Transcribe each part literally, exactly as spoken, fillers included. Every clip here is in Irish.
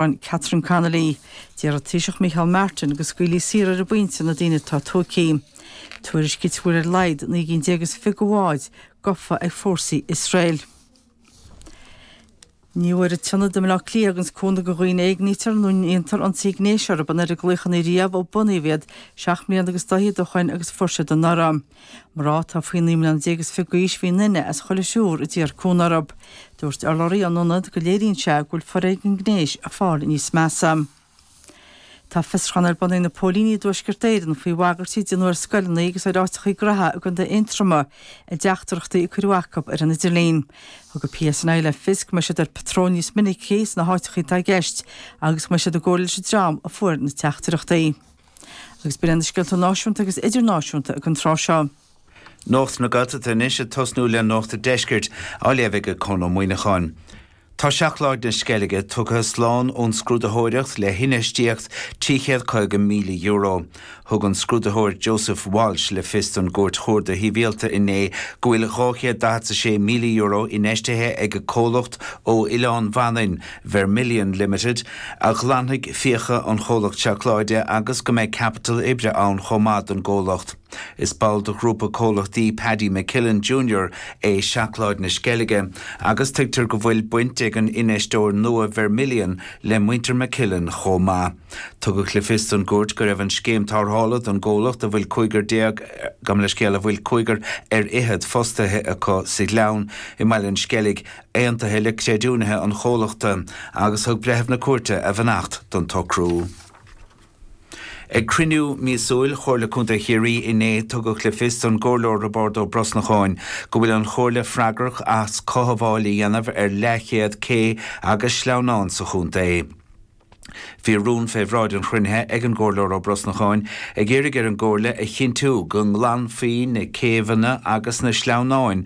Catherine Connolly. Deir an Taoiseach Micheál Martin go scaoilfí saor ar an bpointe na daoine atá tógtha. Tuairiscítear go bhfuil ar a laghad naoi gcinn déag is fiche bhád gafa ag fórsaí Iosrael. Ní bhfuair an tIonad i mBaile Átha Cliath a thuganns cúnamh do dhaoine a éignítear nó a ndéantar ionsaí gnéis orthu an oiread glaochanna riamh ó bunaíodh iad seacht mbliana agus dá fhichead ó shoin agus fuair siad anuraidh. Mná atá faoi naoi mbliana déag is fiche d'aois bhí duine as chuile thriúr a d'iarr cúnamh orthu. Dúirt urlabhraí an ionaid go léiríonn sé go bhfuil foréigean gnéis ag fáil níos measa. Tá fiosrúchán ar bun ag na póilíní i dTuaisceart Éireann faoi bhagairtí a déanadh ar scoileanna agus ar áiteachaí graithe i gContae Aontroma i dteachtaireachtaí a cuireadh acu ar an idirlíon. Thug an PSNI le fios go mbeidh siad ar patról níos minice sna háiteachaí atá i gceist agus go mbeidh siad i gcomhairle leis an dream a fuair na teachtaireachtaí. Agus b'in na scéalta náisiúnta agus idirnáisiúnta ag an tráth seo. Nuacht na Gaeltachta anois ag tosnú le Nuacht an Deiscirt á léamh ag Conn Ó Muíneacháin. Tá Seacláid na Sceilge tugtha slán ón scrúdaitheoireacht le hinfheistíocht trí chéad caoga míle euro. Thug an scrúdaitheoir Joseph Walsh le fios don gCúirt Chuarda Shibhialta inné go bhfuil dhá chéad daichead a sé míle euro infheistithe ag comhlacht ó Oileán Mhanainn, Vermilion Limited, a ghlanfaidh fiacha an chomhlacht seacláide agus go mbeidh capital oibre ann chomh maith don gcomhlacht. Is ball de ghrúpa comhlachtaí Paddy McKillen Junior é Seacláid na Sceilge agus tuigtear go bhfuil baint ag an infheisteoir nua Vermilion le muintir McKillen chomh maith. Tugadh le fios don gcúirt go raibh an scéim tarrthála don gcomhlacht a bhfuil cúigear déag gabh mo leithscéal a bhfuil cúigear ar fhichead fostaithe acu sa Ghleann i mBaile an Sceilg aontaithe le creidiúnaithe an chomhlachta agus thug breitheamh na cúirte a bheannacht don tsocrú. Ag cruinniú míosúil Chomhairle Contae Chiarraí inné tugadh le fios don gComhairleoir Roibeárd Ó Brosnacháin go bhfuil an chomhairle freagrach as cothabháil a dhéanamh ar leathchéad cé agus sleamhnán sa chontae. Bhí rún fé bhráid an chruinnithe ag an gComhairleoir Ó Brosnacháin ag iarraidh ar an gcomhairle a chinntiú go nglanfaí na céibheanna agus na sleamhnáin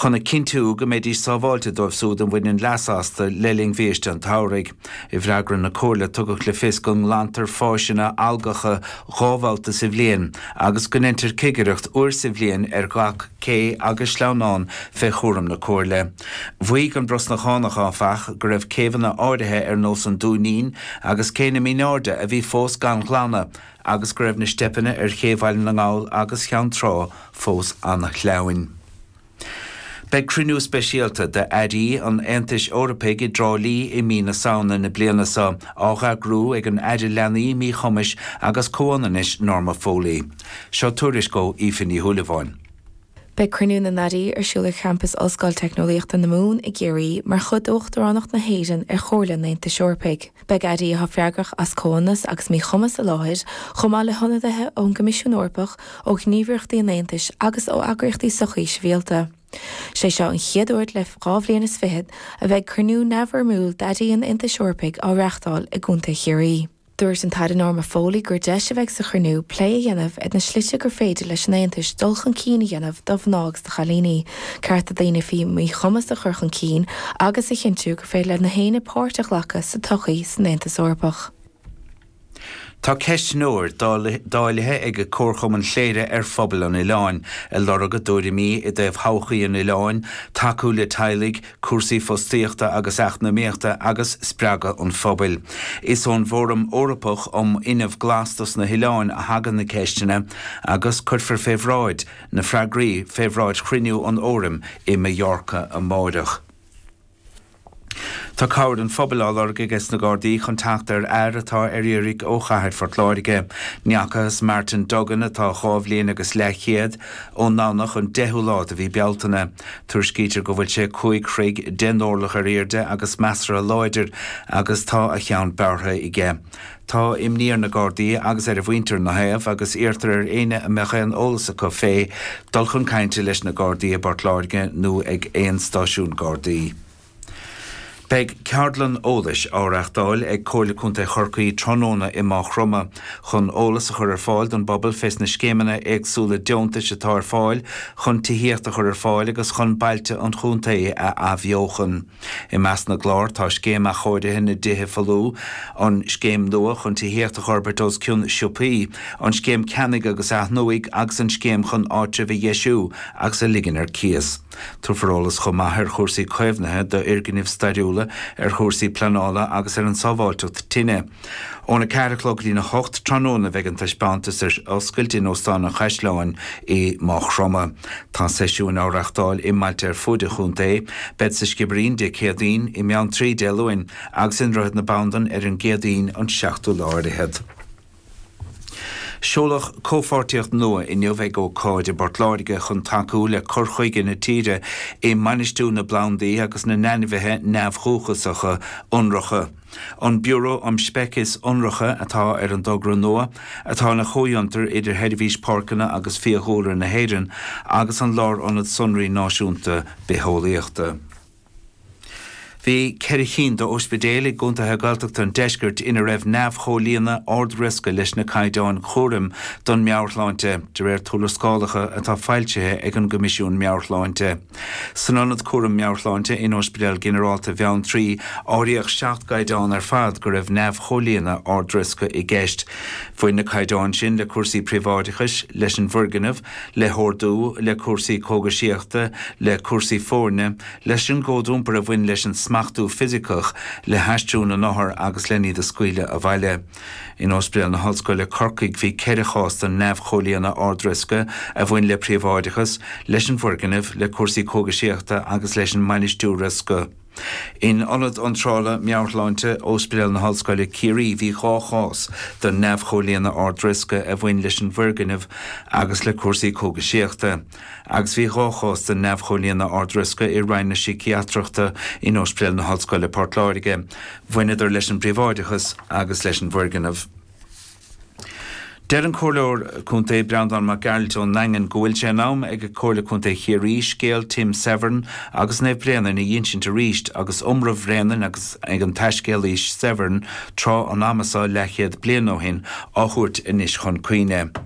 chun a chinntiú go mbeidís sábháilte dóibh siúd a bhaineann leas astu le linn bhiaiste an tsamhraidh. I bhfreagra na comhairle tugadh le fios go nglantar fáiseanna algacha dhá bhabhta sa bhliain agus go ndéantar cigireacht uair sa bhliain ar gach cé agus sleamhnán fé chúram na comhairle. Mhaígh an Brosnachánach áfach go raibh céibheanna áirithe ar nós an Dúinín agus cé na Míneairde a bhí fós gan ghlanadh agus go raibh na steipeanna ar Ché Bhaile na nGall agus Cheann Trá fós an-shleamhain. Beidh cruinniú speisialta d'airí an Aontais Eorpaigh i dTrá Lí i mí na Samhna na bliana seo á eagrú ag an Aire Leanaí Míchumais agus Comhionannais Norma Foley. Seo tuairisc ó Aoife Ní Shúilleabháin. Beidh cruinniú na n-airí ar siúl ar champas Ollscoil Teicneolaíochta na Mumhan i gCiarraí mar chuid d'Uachtaránacht na hÉireann ar Chomhairle an Aontais Eorpaigh. Beidh airí atá freagrach as comhionannas agus míchumas i láthair, chomh maith le hionadaithe ón gCoimisiún Eorpach, ó ghníomhaireachtaí an Aontais agus ó eagraíochtaí sochaí sibhialta. Sé seo an chéad uair le dhá bhliain is fiche a bheidh cruinniú neamhfhoirmiúil d'airí an Aontais Eorpaigh á reáchtáil i gContae Chiarraí. Dúirt an tAire Norma Foley gur deis a bheidh sa chruinniú plé a dhéanamh ar na slite gur féidir leis an Aontas dul chun cinn a dhéanamh do mhná agus do chailíní, cearta daoine faoi mhíchumas a chur chun cinn agus a chinntiú gur féidir le gach éinne páirt a ghlacadh sa tsochaí san Aontas Eorpach. Tá ceistneoir dáilithe ag Comharchumann Chléire ar phobal an oileáin, ag lorg a dtuairimí i dtaobh thodhchaí an oileáin, tacú le teaghlaigh, cúrsaí fostaíochta agus eacnamaíochta agus spreagadh an phobail. Is ón bhFóram Eorpach um Fhuinneamh Glas dos na hoileáin a thagann na ceisteanna agus cuirfear fé bhráid na freagraí fé bhráid chruinniú an Fhóraim i Mallorca amárach. Tá cabhair an phobail á lorg aige sna Gardaí chun teacht ar fhear atá ar iarraidh ó chathair Phort Láirge. Ní fhacthas Martin Duggan atá dhá bhliain agus leathchéad ón nDomhnach an deichiú lá de mhí Bealtaine. Tuairiscítear go bhfuil sé cúig throigh deich n-orlach ar airde agus measartha láidir agus tá a cheann bearrtha aige. Tá imní ar na Gardaí agus ar a mhuintir ina thaobh agus iarrtar ar éinne a mbeadh aon eolas acu fé dul chun cainte leis na Gardaí i bPort Láirge nó ag aon stáisiún Gardaí. Beidh ceardlann eolais á reáchtáil ag Comhairle Contae Chorcaí tráthnóna i Maigh Chromtha chun eolas a chur ar fáil don bpobal fés na scéimeanna éagsúla deontais atá ar fáil chun tithíocht a chur ar fáil agus chun bailte an chontae a athbheochan. I measc na gclár tá scéim athchóirithe na dtithe folmha, an scéim nua chun tithíocht a fhorbairt os cionn siopaí, an scéim ceannaigh agus athnuaigh agus an scéim chun áitribh a dheisiú agus a ligean ar cíos. Tabharfar eolas chomh maith ar chúrsaí caomhnaithe d'fhoirgnimh stairiúla éagsúla ar chúrsaí pleanála agus ar an sábháilteacht tine. Óna ceathair a chlog go dtí a hocht tráthnóna bheidh an taispeántas ar oscailt in Óstán an Chaisleáin i Maigh Chromtha. Tá seisiúin á reáchtáil i mbailte ar fud an chontae, beid sa Sciobairín Dé Céadaoin, i mBeanntraí Dé Luain agus i nDroichead na Bandan ar an gCéadaoin an seachtú lá ar fhichead. Seoladh comhpháirtíocht nua inniu ag ócáid i bPort Láirge chun tacú le cur chuige na tíre i mbainistiú na bplandaí agus na n-ainmhithe neamhdhúchasacha ionracha. An Biúró um Speicis Ionracha atá ar an dtogra nua, atá ina chomhfhiontar idir Sheirbhís Páirceanna agus Fiadhúlra na hÉireann agus an Lárionad Sonraí Náisiúnta Bitheolaíochta. Bhí ceithre cinn d'ospidéil i gcontaetha Gaeltachta an deiscirt ina raibh neamhchomhlíonadh ard-riosca leis na caighdeáin chúraim don meabhairshláinte, de réir tuarascálacha atá foilsithe ag an gCoimisiún Meabhairshláinte. San Ionad Cúraim Meabhairshláinte in Ospidéal Ginearálta Bheanntraí, áiríodh seacht gcaighdeán ar fad go raibh neamhchomhlíonadh ard-riosca i gceist. Bhain na caighdeáin sin le cúrsaí príobháideachais, leis an bhfoirgneamh, le hordú, le cúrsaí cógaisíochta, le cúrsaí foirne, leis an gcód iompair a bhain leis an smachtú fisiceach, le haistriú na n-othar agus len iad a scaoileadh abhaile. In Ospidéal na hOllscoile, Corcaigh, bhí ceithre chás den neamhchomhlíonadh ard-riosca a bhain le príobháideachas, leis an bhfoirgneamh, le cúrsaí cógaisíochta agus leis an mbainistiú riosca. In Ionad Iontrála Meabhairshláinte Ospidéal na hOllscoile, Ciarraí, bhí dhá chás den neamhchomhlíonadh ard-riosca a bhain leis an bhfoirgneamh agus le cúrsaí cógaisíochta, agus bhí dhá chás den neamhchomhlíonadh ard-riosca i Roinn na Síciatrachta in Ospidéal na hOllscoile, Port Láirge. Bhaineadar leis an bpríobháideachas agus leis an bhfoirgneamh. Deir an Comhairleoir Contae Breandán Mac Gearailt ón nDaingean go bhfuil sé in am ag Comhairle Contae Chiarraí scéal Tim Severn agus Naomh Bréanainn a dh'insint arís agus iomramh Bhréanainn agus ag an taiscéalaí Severn tráth an ama seo leathchéad bliain ó shin á thabhairt anois chun cuimhne.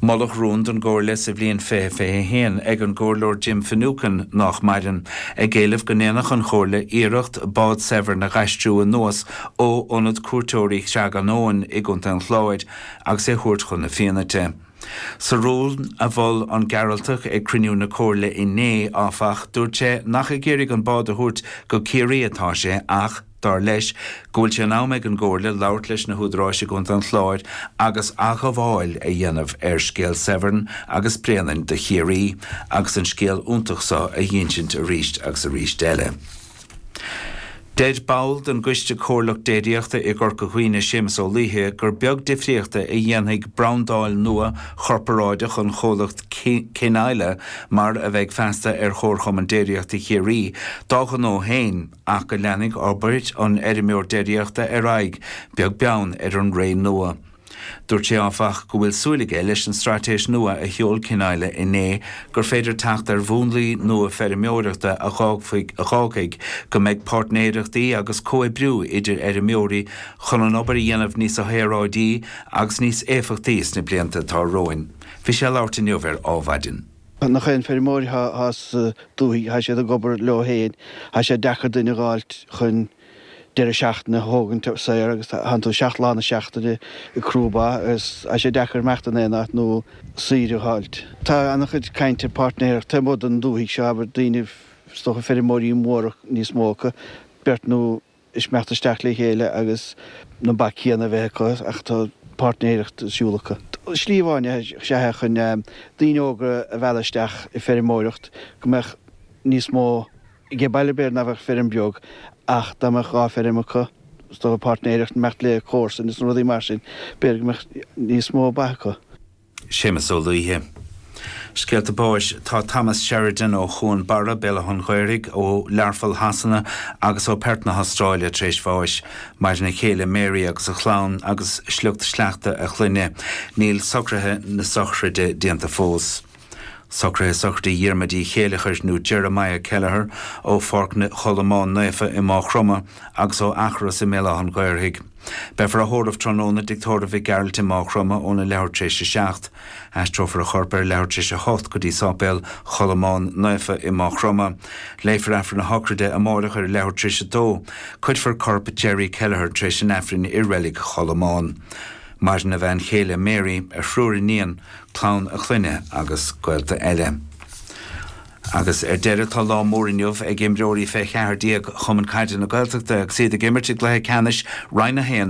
Moladh rún don gComhairle sa bhliain fiche fiche a haon ag an gComhairleoir Jim Finucane, nách maireann, ag éileamh go ndéanfadh an Chomhairle iarracht bád Severn a dh'aistriú anuas ó Ionad Cuairteoirí Chreag an Abhainn i gContae an Chláir agus é thabhairt chun na Fiannaite. Sa rún a mhol an Gearaltach ag cruinniú na Comhairle inné, áfach, dúirt sé nach ag iarraidh an bád a thabhairt go Ciarraí atá sé ach, dar leis, go bhfuil sé in am ag an gComhairle labhairt leis na húdaráis i gContae an Chláir agus athghabháil a dhéanamh ar scéal Severn agus Bréanainn do Chiarraí agus an scéal iontach seo a dh'insint arís agus arís eile. Deir ball den gCoiste Comhairleach Déiríochta i gCorca Dhuibhne, Séamus Ó Laoithe, gur beag difríochta a dhéanfaidh brandáil nua chorparáideach an chomhlacht Cin-Isle, mar a bheidh feasta ar Chomharchumann Déiríochta Chiarraí, dá ghnó féin ach go leanfaidh obair an fheirmeoir déiríochta ar aghaidh, beag beann ar an ré nua. Dúirt sé, áfach, go bhfuil súil aige leis an straitéis nua a sheol Cin-Isle inné gur féidir teacht ar mhúnlaí nua feirmeoireachta a dh'fhágfaidh go mbeidh páirtnéireachtaí agus comhoibriú idir fheirmeoirí chun an obair a dhéanamh níos saoráidí agus níos éifeachtaí sna blianta atá romhainn. Bhí sé ag labhairt inniu ar Adhmhaidin. Nach aon feirmeoir atá sa dúthaigh, tá siad ag obair leo féin, tá sé deacair duine a dh'fháilt chun deireadh seachtaine a thógaint saor agus tánn tú seacht lá na seachtaine ag crú ba agus tá sé deacair imeacht in aon áit nó saoire a dh'fháilt. Tá an-chuid caint ar páirtnéireacht taobh amuigh den dúthaigh seo, abair daoine, is dócha feirmeoirí móra níos mó acu, beirt nó imeacht isteach le chéile agus na ba céanna a bheith acu ach tá páirtnéireacht ar siúl acu. Slí amháin is ea é chun daoine óga a mhealladh isteach i feirmeoireacht go mbeadh níos mó Ag baile b'fhéidir nach bheadh feirm beag ach dá mbeadh dhá feirm acu, is dócha páirtnéireacht, imeacht le comharsain is na rudaí mar sin, b'fhéidir go mbeadh níos mó ba acu. Séamus Ó Laoithe. Scéalta báis Tá Thomas Sheridan ó Chuan Barra, Béal Átha an Ghaorthaidh, ó Learpholl Shasana agus ó Perth na hAstráile tar éis bháis. Maireann a chéile Mary agus a chlann agus sliocht sleachta a chlainne. Níl socruithe na sochraide déanta fós. Socruithe sochraide Dhiarmuid Uí Chéileachair nó Jeremiah Kelleher ó Pháirc Cholmáin Naofa i Maigh Chromtha agus ó Eachros i mBéal Átha an Ghaorthaidh. Beifear á thórramh tráthnóna i dTigh Tórraimh Mhic Gearailt i Maigh Chromtha óna leathuair tar éis a seacht. Aistreofar a chorp ar leathuair tar éis a hocht go dtí Sáipéal Cholmáin Naofa i Maigh Chromtha. Léifear Aifreann na sochraide amárach ar leathuair tar éis a dó. Cuirfear corp Jerry Kelleher tar éis an Aifrinn i Reilig Cholmáin. Maireann a bhean chéile Mary, a thriúr iníon, clann a clainne agus gaolta eile. Agus ar deireadh tá lá mór inniu ag imreoirí fé cheathair déag Chumann Caide na Gaeltachta agus iad ag imirt i gcluiche ceannais Roinn a haon na